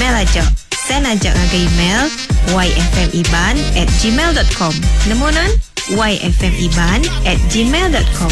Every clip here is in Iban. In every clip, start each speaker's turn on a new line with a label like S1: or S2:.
S1: email aja. Send aja ngagai email yfmiban at gmail dot com. Nemu nan? yfmiban at gmail dot com.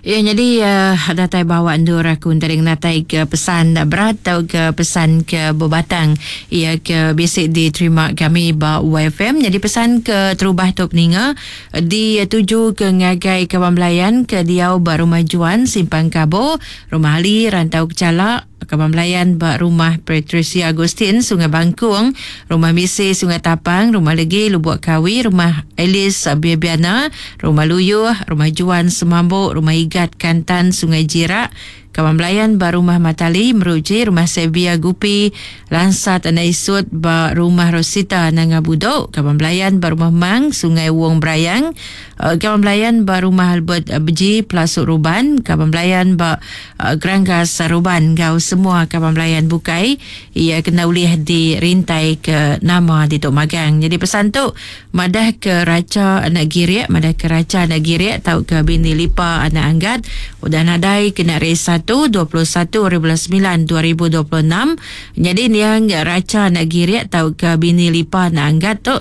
S2: Ya nyadi uh, datai bawa endur aku entari ngenatai ke pesan berat atau ke pesan ke bebatang ia ke bisi diterima kami ba YFM. Jadi pesan ke terubah tu peninga dituju ke ngagai kaban belayan ke diau ba Rumah Juan Simpang Kabo, Rumah Ali Rantau Kecala, Kaban belayan ba Rumah Patricia Agustin Sungai Bangkung, Rumah Misi Sungai Tapang, Rumah Legi Lubuk Kawi, Rumah Alice Bibiana, Rumah Luyuh, Rumah Juan Semambuk, Rumah Igat Kantan Sungai Jirak, Kaban belayan ba Rumah Matali Meruji, Rumah Sevia Gupi, Lansa Tanah Isut ba Rumah Rosita Nanga Budok, Kaban belayan ba Rumah Mang Sungai Wong Brayang, Kaban belayan ba Rumah Albert Beji Pelasuk Ruban, Kaban belayan ba Geranggas Ruban enggau semua kaban belayan bukai iya kena ulih dirintai ke nama ditu magang. Nyadi pesan tu madah ke Racha anak Girik, madah ke Racha anak Girik tauka bini Lipa anak Anggat udah nadai kena hari Satu 21 haribulan semilan 2026. Nyadi niang Racha anak Girik tauka bini Lipa anak Anggat tu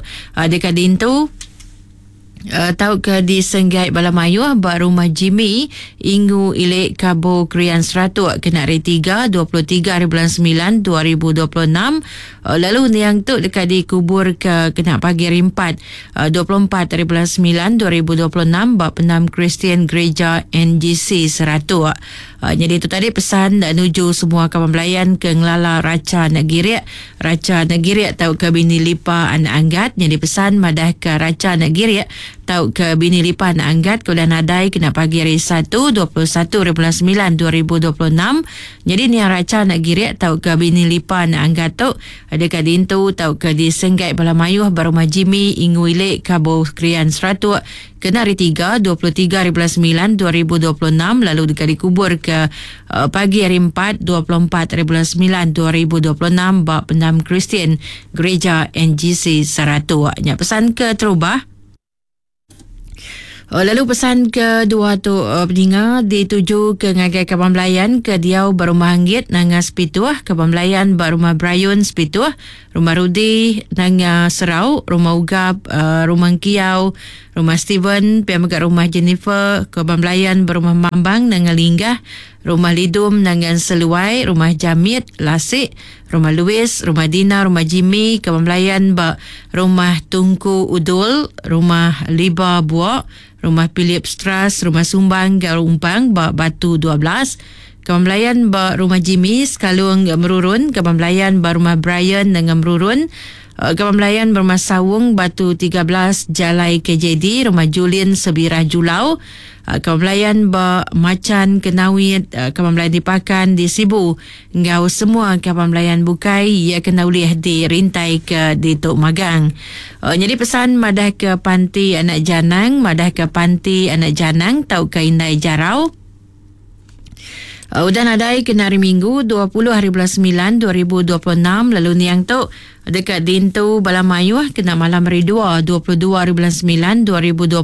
S2: deka diintu Tauka disenggai bala mayuh ba Rumah Jimmy, Ingu Ilik Kabo Krian Seratuk kena hari Tiga, 23 haribulan semilan 2026 lalu niang tu deka dikuburka kena pagi hari Empat, 24 haribulan semilan 2026 ba Pendam Kristian Gereja NGC Seratuk. Nyadi tu tadi pesan nuju semua kaban belayan ke ngelala Racha anak Girik. Racha anak Girik tauka bini Lipa anak Anggat. Nyadi pesan madahka Racha anak Girik tauka bini Lipa anak Anggat ke udah nadai kena pagi hari Satu, 21 haribulan semilan 2026. Nyadi niang Racha anak Girik tauka bini Lipa anak Anggat tu deka diintu tauka disenggai bala mayuh ba Rumah Jimmy Ingu Ilik Kabo Krian Seratuk Kena hari Tiga, 23 haribulan semilan 2026 lalu deka dikuburka pagi hari Empat, 24 haribulan semilan 2026 ba Pendam Kristian Gereja NGC Saratok. Nya pesan keterubah. Lalu pesan kedua tu peninga dituju ke ngagai kaban belayan ke diau ba Rumah Anggit Nanga Sepituh, kaban belayan ba Rumah Brayun Sepituh, Rumah Rudi, Nanga Serau, Rumah Ugap, Rumah Engkiau, Rumah Steven, pia mega Rumah Jennifer, Kaban Belayan ba Rumah Mambang, Nanga Linggah, Rumah Lidum, Nanga Enseluai, Rumah Jamit, Lasik, Rumah Louis, Rumah Dina, Rumah Jimmy, Kaban Belayan ba Rumah Tungku Udul, Rumah Liba Buok, Rumah Philip Stras, Rumah Sumbang enggau Umpang ba Batu 12, Kaban Belayan ba Rumah Jimmy, Sekalung Merurun, Kaban Belayan ba Rumah Brian Nengah Merurun, Kaban Belayan ba Rumah Saung, Batu 13, Jalai KJD, Rumah Julin Sebirah Julau, Kaban Belayan ba Machan Kenawit, Kaban Belayan di Pakan di Sibu enggau semua kaban belayan bukai iya kena ulih dirintai ke ditu magang. Nyadi pesan madah ke panti anak janang, madah ke panti anak janang tauka indai jarau. Udah nadai kena hari Minggu 20 hari bulan semilan 2026 lalu niang tu deka diintu bala mayuh kena malam hari Dua 22 hari bulan semilan 2026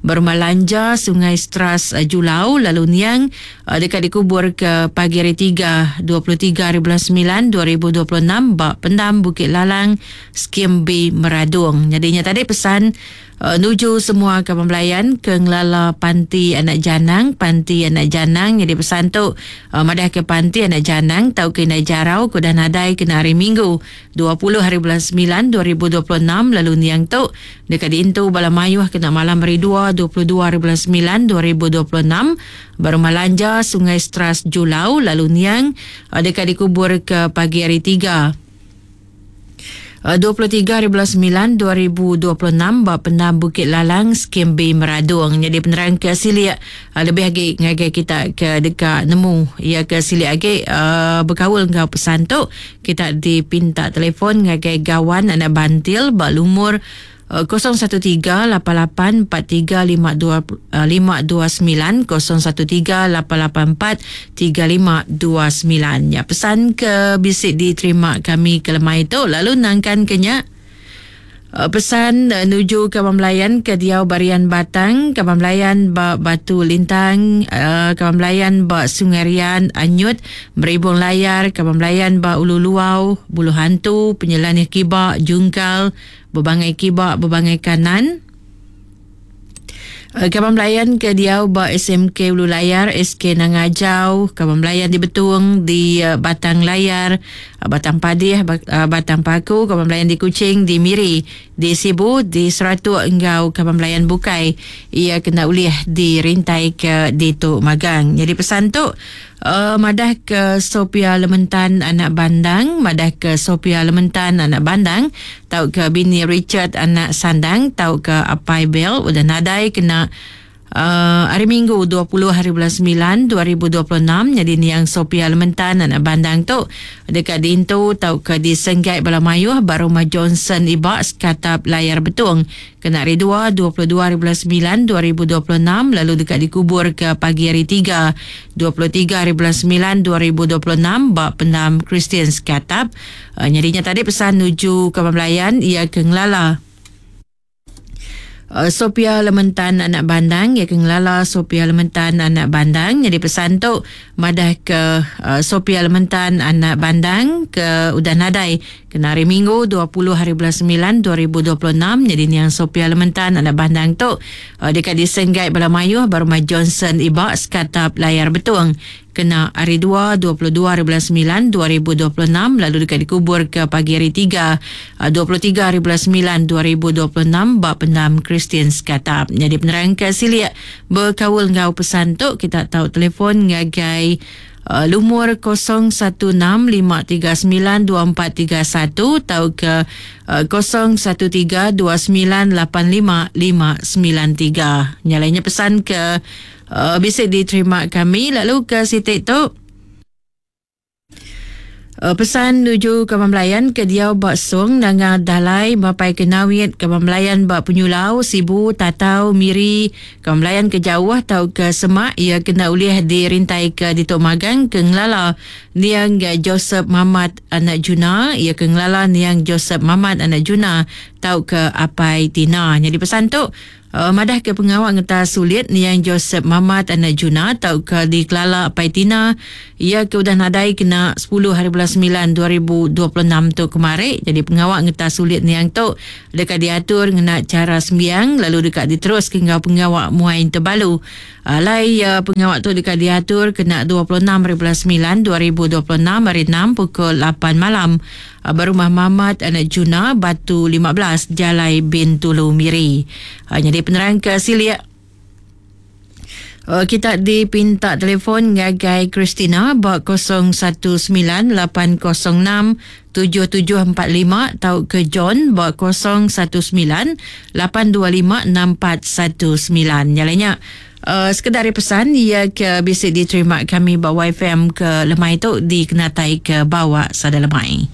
S2: ba Rumah Lanja Sungai Stras Julau lalu niang deka dikubur ke pagi hari Tiga 23 hari bulan semilan 2026 ba Pendam Bukit Lalang Skim B Meradong. Nyadi nya tadi pesan Nuju semua kaban belayan ke ngelala panti anak janang, panti anak janang nyadi pesan tu madahka panti anak janang tauka indai jarau ke udah nadai kena hari Minggu 20 hari bulan semilan 2026 lalu niang tu deka diintu bala mayuh kena malam hari Dua 22 hari bulan semilan 2026 ba Rumah Lanja Sungai Stras Julau lalu niang deka dikuburka pagi hari Tiga. 23 hari bulan semilan 2026 ba Pendam Bukit Lalang, Skim B Meradong. Nyadi penerang ke silik lebih agi ngagai kita ke deka nemu iya ke silik agi bekaul enggau pesan tu, kita dipinta telefon ngagai Gawan anak Bantil ba lumur 013 lapan lapan empat tiga lima dua lima dua semilan 013 lapan lapan empat tiga lima dua semilan. Nya pesan ke bisi diterima kami ke lemai tu lalu nangkan ke nya. Pesan nuju kaban belayan ke diau ba Rian Batang, kaban belayan ba Batu Lintang, kaban belayan ba Sungai Rian, Anyut, Meribung Layar, kaban belayan ba Ulu Luau, Buluh Antu, Penyelanih Kiba, Jungkal, Bebangai Kiba, Bebangai Kanan. Kaban belayan ke diau ba SMK Ulu Layar, SK Nanga Ajau, kaban belayan di Betong, di Batang Layar, Batang Padih, Batang Paku, kaban belayan di Kuching, di Miri, di Sibu, di Seratok enggau kaban belayan bukai iya kena ulih dirintai ke ditu magang. Nyadi pesan tu madah ke Sophia Lementan anak Bandang, madah ke Sophia Lementan anak Bandang tauka bini Richard anak Sandang tauka apai Bell udah nadai kena hari Minggu 20 hari bulan 9 2026. Nyadi niang Sophia Lementan anak Bandang tu deka diintu tauka disenggai bala mayuh ba Rumah Johnson Iba Sekatap Layar Betong kena hari 2 22 hari bulan 9 2026 lalu deka dikubur ke pagi hari 3 23 hari bulan 9 2026 ba Pendam Kristian Sekatap. Nyadi nya tadi pesan nuju kaban belayan iya ke ngelala Sophia Lementan anak Bandang, iya ke ngelala Sophia Lementan anak Bandang. Nyadi pesan tu madah ke Sophia Lementan anak Bandang ke udah nadai kena hari Minggu 20 hari bulan 9 2026. Nyadi niang Sophia Lementan anak Bandang tu deka disenggai bala mayuh ba Rumah Johnson Iba Sekatap Layar Betong kena hari 2 22 hari bulan 9 2026 lalu deka dikubur ke pagi hari 3 23 hari bulan 9 2026 ba Pendam Kristian Sekatap. Nyadi penerang ke silik bekaul enggau pesan tu kita tau telefon ngagai lumur 0165392431 tauka 0132985593. Nya lainnya pesan ke bisi diterima kami. Lalu ke siti tu pesan nuju kaban belayan ke diau ba Song, Nanga Dalai, Mapai ke Nawit, kaban belayan ba Penyulau, Sibu, Tatau, Miri, kaban belayan ke jauh tauka semak iya kena ulih dirintai ke ditu magang ke ngelala niang Joseph Mamat anak Juna, iya ke ngelala niang Joseph Mamat anak Juna tauka Apai Tina. Nyadi pesan tu madah ke pengawa ngetas sulit niang Joseph Mamat anak Juna tauka dikelala Apai Tina iya ke udah nadai kena 10 hari bulan 9 2026 tu kemari. Jadi pengawa ngetas sulit niang tu deka diatur ngena chara sembiang lalu deka diteruska enggau pengawa muai tebalu. Alai pengawa tu deka diatur kena 26 hari bulan 9 2026 hari 6 pukul 8 malam ba Rumah Mamat anak Juna, Batu 15, Jalai Bintulu, Miri. Nyadi penerang ke silik kita dipinta telefon ngagai Christina ba 019 806 7745 tauka John ba 019 825 6419. Nyalanya sekedar pesan ia ke bisi diterima kami ba YFM ke lemai tu dikenatai ke bawa sada lemai.